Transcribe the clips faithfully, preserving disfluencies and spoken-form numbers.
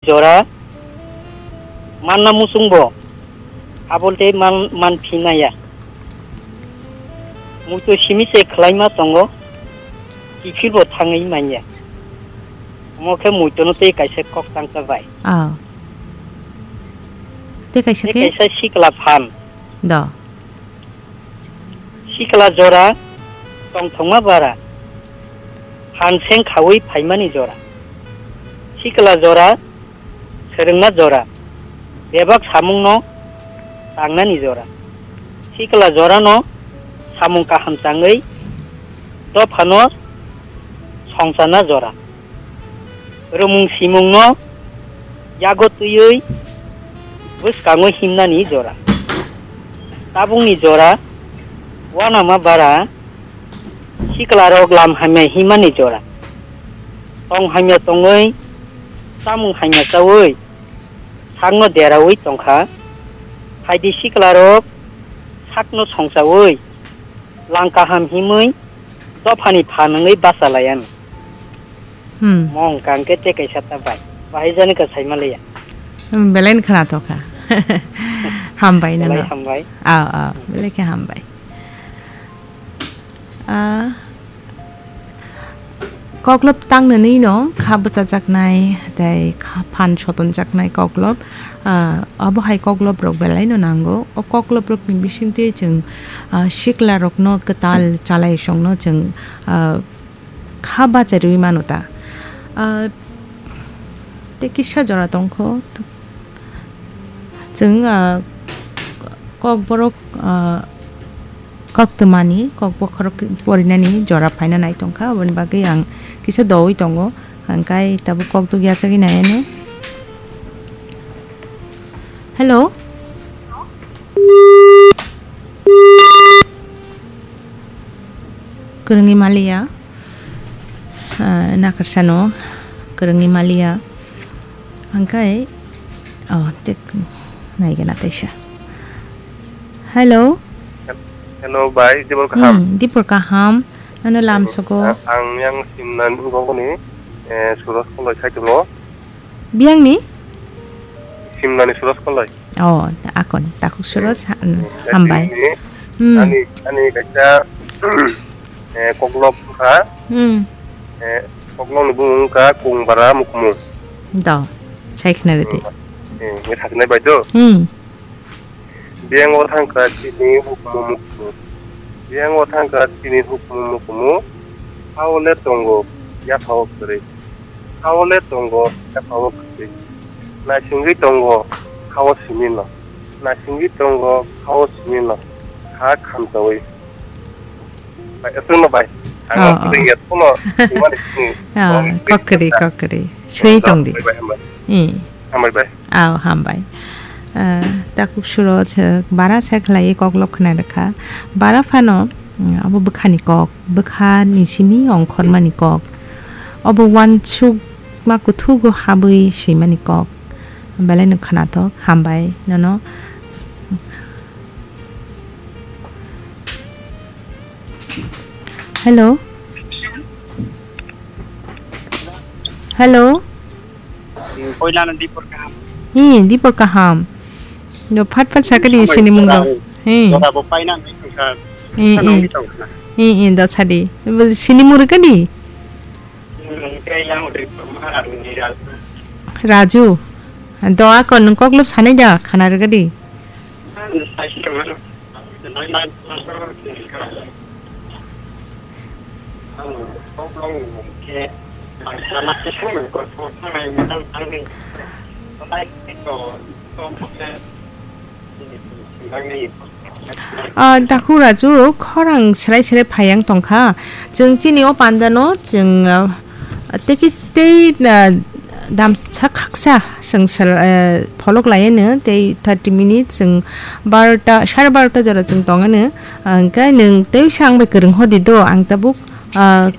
jora manna muchungbo abol tei man, man phinaya. Muitu simi se khlaima tongo, kiphilbo thangwi manya. Omo khe muituno tei kaisa kok tangsa bai. Ah. Tei kaisa Tei khe? Kaisa sikla phan. Do. Sikla jora tongthokma bara, phan seng khaui phaimani jora. Sikla jora swrwngna jora, bebak samungno tangnani jora. Sikla jorano samung kaham tangwi dophano songchana jora. Rumung simungno yago twiwi bwskango himnani jora. Tabukni jora uanama bara siklarok lam hamya himani jora. Tong hamya tongwi chamung hamya chaui sakno deraui tongkha. Phaidi siklarok sakno songchaui lang kaham himwi dophani phan wngwi basa laiyan. Hmm. Mong kang khe tei kaisa ta bai. Bahai jani ka saima liya. Hmm, belai ni khwnathok kha. Hambai nang. Belai hambai. Aw, aw, belai khe hambai. Ah, koklop tang nani no kha bwchajaknai, tei kha phan sotonjaknai koklop. Ah, abo hai koklop rok belai no nango. O koklop rok ni bising twi chwng, ah, sikla rok no kwtal chalai song no chwng, ah, kha bacharwi mano ta. Ah, tei kisa jora tongkho. Chwng, ah, kokborok, ah, koktwmani, kokbokhorok porinani jora phaina nai tongkha. Aboni bagwi ang kisa doui tongo. Ang kai tabuk kokduk yachagwi naianw. Hello? Kwrwngwi maliya. Ah, nakarsano kwrwngwi maliya. Hangkai, oh, tek, naigena teisa. Hello? Hello, bai, dibor kaham? Hmm, dibor kaham. Nano lam sogo. Ang, ang yang simna nugogoni, eh, Suraj Koloi saitongo. Biyangni? Simnani Suraj Koloi. Oh, akon, takhuk Suraj, ha-, hmm, hambai. Simni, hmm, ani, ani kaisa, eh, koklop wngkha. Hmm. Eh, koklopni bumung wngkha Kungbara Mukumu. Do, sai khna rwdi. Hmm. Eh, nge saknai bai do? Hmm. Biyang o thangkha chini hukumu mukumu. Biyang o thangkha chini hukumu mukumu. Hao le tongo, yaphao kwrwi. Hao le tongo, yaphao kwrwi. Naisingwi tongo, hao simi no. Naisingwi tongo, hao simi no. Ha khamchawi. Bai, aswkno bai. Ang, oh, oh, aswk ya, kuno, imani sini. Oh, oh, kokri, kokri. Sui tong di. Bai, bai, hambai. Hmm. Hambai, bai. Aw, hambai. Ah, takhuk Suraj, eh, bara se khlaiwi koklop khna rwkha. Bara phano, mm, abo bwkhani kok, bwkhani simi ongkhormani kok. Obo uansukma kuthugo habwi swimani kok. Belai no khnathok, hambai nono. Hello. Hello. Koilano dipor kaham. Hi, dipor kaham. No phat phat sakadi sini mung dong. Hi. Jora bo paina ni sangsa. Hi, hi. Hi, hi, da sadi. Sini mung kadi. Raju. Do ako nung koklop sanai da khana rwgadi. Ah, Dakhuk Raju, khorang serai serai phai yang tongkha. Chwng chini o panda no, chwng, ah, tei ki, tei, ah, damsa khaksa chwng sal, ah, pholok lai anw, tei thirty minutes chwng barota, sare barota jora chwng tong anw. Ah, hwnkhe nwng tei sa ang bai kwrwng hor di do, ang tabuk, ah,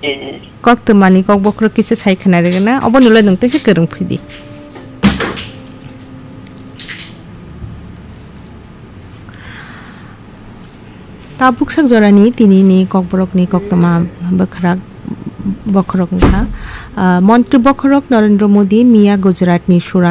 koktwmani kok bokhorok kisa sai khna rwgwna, oboni ulo nwng teisa kwrwng phidi. Tabuk sak jorani tini ni kokborokni koktwma bwkhwrak bokhorok wngkha. Ah, Montri bokhorok Narendra Modi miya Gujaratni Surat